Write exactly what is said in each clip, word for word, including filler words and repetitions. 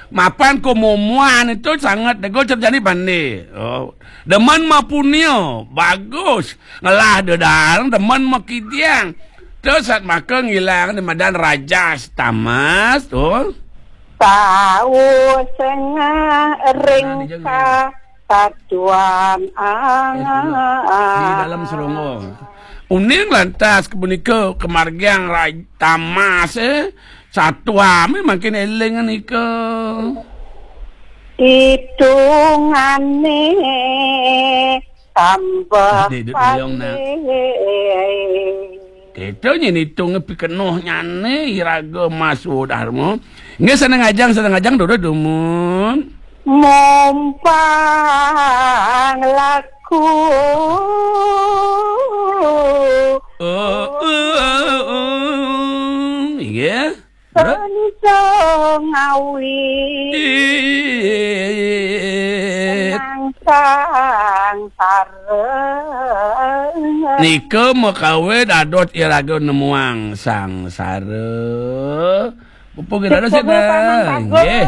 Mapan kumumuan itu sanget dego cerjani bande. Oh, demen mapunio, bagus. Ngelah dedareng demen makidiang. Terus sat maka ngilang di madan rajas tamas tuh. Tau sengah ring kasatuan di dalam seronggo. Uning lantas kepunika kemargiang raj-, tamas, eh, satuame makin eling nika. Hitungane tambah Dek, duduk dulu, nak. Kita nyen hitung pikenoh nyane iraga Mas Wodarma. Nggih, seneng ajang, seneng ajang, duduk dumun. Mumpang laku. Oh, oh, oh, oh. Inggih. Bro. Senja ngawi. Ih. Nang sangsara. Nika makawit dados iraga nemuang sangsara. Pupuk kita ada sih, Bang. Nggih.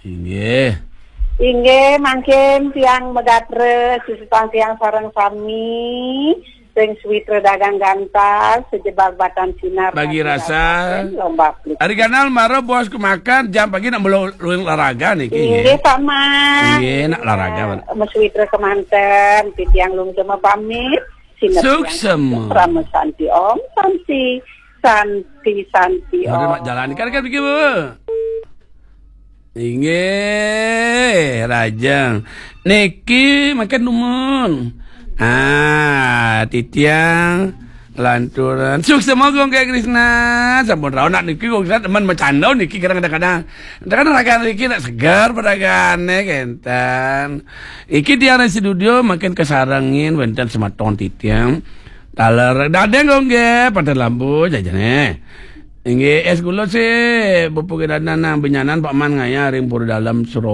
Inggih. Inggih, mangkin tiang megatra, sisutang tiang sareng sami, sing suwitra dagang gantas, sejebak batan sinar, bagi rasa. Lomba plik. Ari ganal mara bos kemakan, jam pagi nak melu-, luwing olahraga niki, nggih. Inggih, sama. Inggih, nak olahraga, Pak. Mesuwitra kemanten, titiang lungsema pamit. Sinar tiang suksma. Rama santi om, santi, santi, santi om. Mak jalan kan, kan, Bu. Inggih, rajang. Niki makan dumun. Ah, titiang lanturan. Suksma Gong Kek Krisna. Sampun rauh nak niki Gong Krisna teman macanda niki kadang-kadang. Kadang ragan niki nak segar padagane kenten. Iki tiang ring studio makin kesarengin wenten semeton titiang. Taler dadeng Gong nggih, pada lampu jajane. Inggih, es gula sih, pupuke dadan nang benyanan Pak Man ngaya ring Pura Dalem Suro.